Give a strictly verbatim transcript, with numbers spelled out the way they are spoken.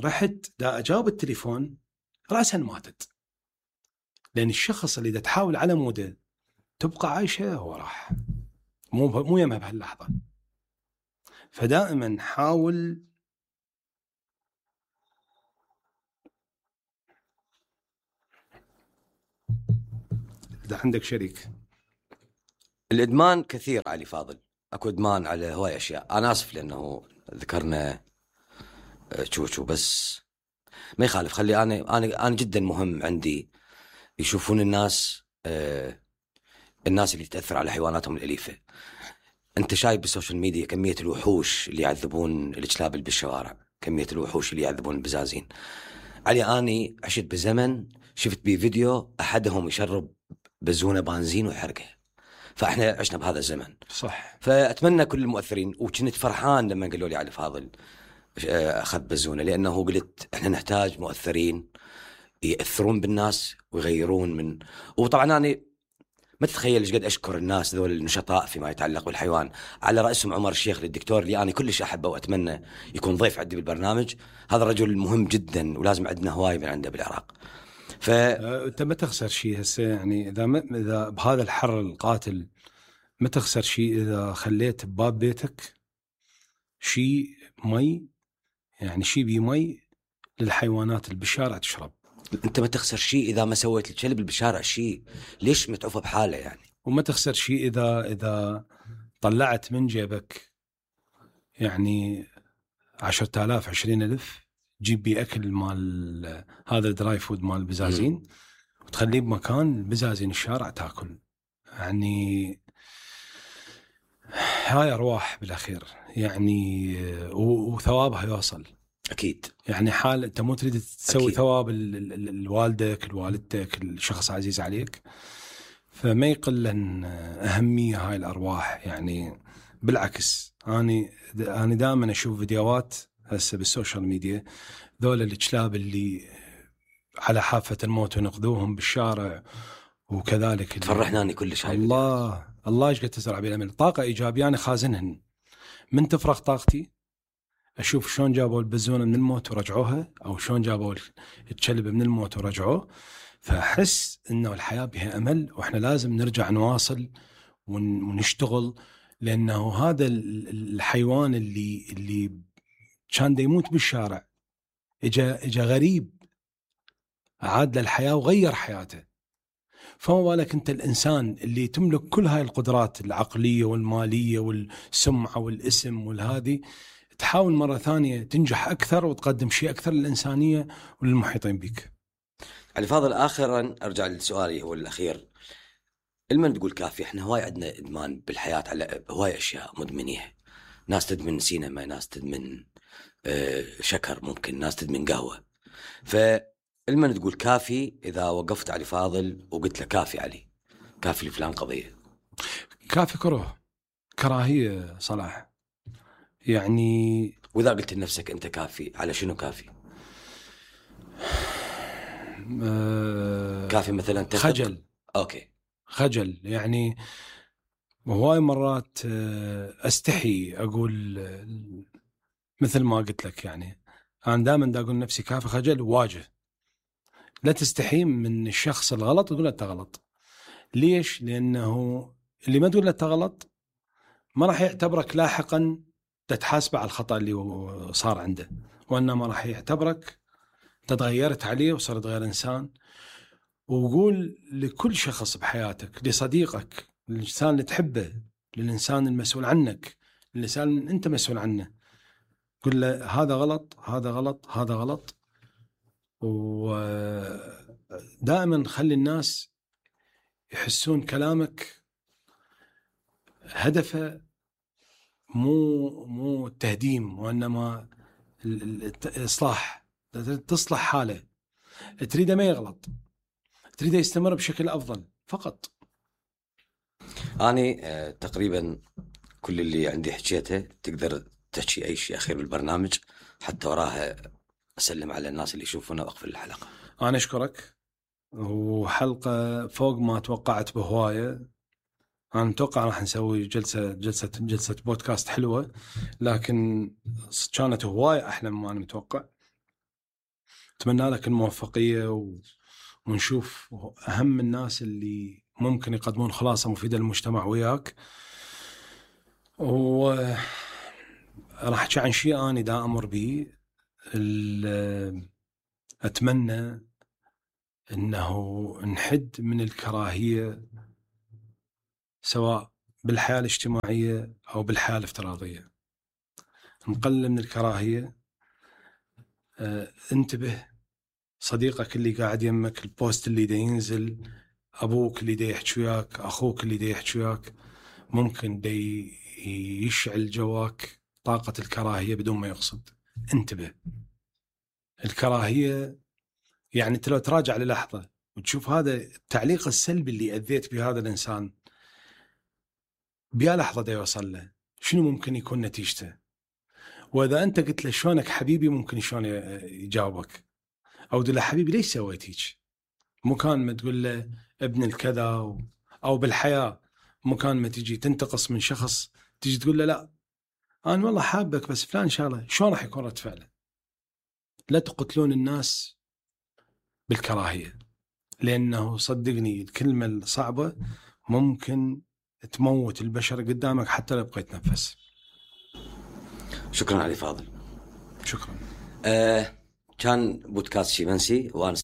رحت دا أجاوب التليفون رأسا ماتت، لأن الشخص اللي دا تحاول على موده تبقى عايشة هو راح، مو مو يمها بهاللحظة. فدائما حاول إذا عندك شريك. الإدمان كثير علي فاضل، أكو إدمان على هواي أشياء. أنا آسف لأنه ذكرنا شو بس ما يخالف. خلي أنا أنا أنا جدا مهم عندي يشوفون الناس آه الناس اللي تأثر على حيواناتهم الأليفة. أنت شايف بالسوشيال ميديا كمية الوحوش اللي يعذبون الكلاب بالشوارع، كمية الوحوش اللي يعذبون البزازين. علي أني عشت بزمن شفت بيه فيديو أحدهم يشرب بزونة بنزين ويحرقه، فإحنا عشنا بهذا الزمن. صح. فأتمنى كل المؤثرين، وكنت فرحان لما قالوا لي علي فاضل أخذ بزونة، لأنه قلت إحنا نحتاج مؤثرين يأثرون بالناس ويغيرون من. وطبعا أنا ما تتخيل إيش قد أشكر الناس ذول النشطاء فيما يتعلق بالحيوان، على رأسهم عمر الشيخ الدكتور اللي أنا كلش أحبه وأتمنى يكون ضيف عندي بالبرنامج. هذا الرجل مهم جدا ولازم عندنا هواي من عنده بالعراق. ف أنت ما تخسر شيء هسه، يعني إذا ما إذا بهذا الحر القاتل ما تخسر شيء إذا خليت بباب بيتك شيء مي، يعني شيء بي مي للحيوانات اللي بالشارع تشرب. أنت ما تخسر شيء إذا ما سويت الكلب اللي بالشارع شيء، ليش متعوفة بحاله يعني. وما تخسر شيء إذا إذا طلعت من جيبك يعني عشرة آلاف عشرين ألف جيب بي أكل مال هذا الدراي فود مال البزازين م. وتخليه بمكان بزازين الشارع تاكل. يعني هاي أرواح بالأخير يعني، وثوابها يوصل أكيد. يعني حال أنت مو تريد تسوي أكيد. ثواب الوالدك الوالدتك الشخص عزيز عليك، فما يقلن أهمية هاي الأرواح. يعني بالعكس أنا أنا دائما أشوف فيديوهات هسه بالسوشيال ميديا ذول الكلاب اللي على حافة الموت ونقذوهم بالشارع وكذلك تفرحناني كلش هاي الله الله ايش قد تزرع بالأمل طاقة إيجابية. أنا خازنهن من تفرغ طاقتي أشوف شلون جابوا البزونة من الموت ورجعوها، أو شلون جابوا الكلب من الموت ورجعوه، فأحس إنه الحياة بها أمل وإحنا لازم نرجع نواصل ونشتغل. لأنه هذا الحيوان اللي اللي كان دا يموت بالشارع إجا إجا غريب عاد للحياة وغير حياته، فما بالك أنت الإنسان اللي تملك كل هاي القدرات العقلية والمالية والسمعة والاسم والهذه، تحاول مرة ثانية تنجح أكثر وتقدم شيء أكثر للإنسانية وللمحيطين بك. علي فاضل، آخرا أرجع لسؤالي هو الأخير. المن تقول كافي، إحنا هواي عندنا إدمان بالحياة على هواي أشياء مدمنية. ناس تدمن سينما، ناس تدمن آه شكر، ممكن ناس تدمن قهوة. فالمن تقول كافي إذا وقفت علي فاضل وقلت له كافي علي، كافي لفلان قضية. كافي كره كراهية صلاح يعني. وإذا قلت لنفسك أنت كافي، على شنو كافي؟ أه كافي مثلا تثق. خجل. أوكي خجل يعني هواي مرات أستحي أقول مثل ما قلت لك. يعني أنا دائما دا أقول نفسي كافي خجل وواجه. لا تستحي من الشخص الغلط تقول له أنت غلط. ليش؟ لأنه اللي ما تقول له أنت غلط ما راح يعتبرك لاحقا تتحاسب على الخطأ اللي صار عنده، وإنما راح يعتبرك تتغيرت عليه وصرت غير إنسان. وقول لكل شخص بحياتك، لصديقك، للإنسان اللي تحبه، للإنسان المسؤول عنك، للإنسان اللي أنت مسؤول عنه، قل له هذا غلط هذا غلط هذا غلط. ودائما خلي الناس يحسون كلامك هدفه مو مو التهديم، وإنما الإصلاح. تصلح حاله، تريده ما يغلط، تريده يستمر بشكل أفضل فقط. أنا آه تقريبا كل اللي عندي حكيته. تقدر تحكي أي شيء أخير بالبرنامج حتى وراها أسلم على الناس اللي يشوفونا وأقفل الحلقة؟ أنا أشكرك، وحلقة فوق ما توقعت بهواية. أنا متوقع راح نسوي جلسة جلسة جلسة بودكاست حلوة، لكن كانت هواية أحلى مما أنا متوقع. أتمنى لك الموفقية و... ونشوف أهم الناس اللي ممكن يقدمون خلاصة مفيدة للمجتمع وياك. وراح أحكي عن شيء أنا دا أمر به. أتمنى أنه نحد من الكراهية سواء بالحياة الاجتماعية أو بالحياة الافتراضية. نقلل من الكراهية. أه انتبه صديقك اللي قاعد يمك، البوست اللي دا ينزل، أبوك اللي دا يحكي وياك، أخوك اللي دا يحكي وياك، ممكن دا يشعل جواك طاقة الكراهية بدون ما يقصد. انتبه. الكراهية يعني أنت لو تراجع للحظة وتشوف هذا التعليق السلبي اللي أذيت بهذا الإنسان بيا لحظة دا يوصل له، شنو ممكن يكون نتيجته؟ وإذا أنت قلت له شلونك حبيبي ممكن شلون يجاوبك، أو تقول له حبيبي ليش سويت هيك؟ مكان ما تقول له ابن الكذا، أو بالحياة مكان ما تجي تنتقص من شخص تجي تقول له لا أنا والله حابك بس فلان شغله، شلون راح يكون رد فعله؟ لا تقتلون الناس بالكراهية، لأنه صدقني الكلمة الصعبة ممكن تموت البشر قدامك حتى لو بقيت تنفس. شكرا علي فاضل. شكرا. آه كان بودكاست شيمنسي وأنا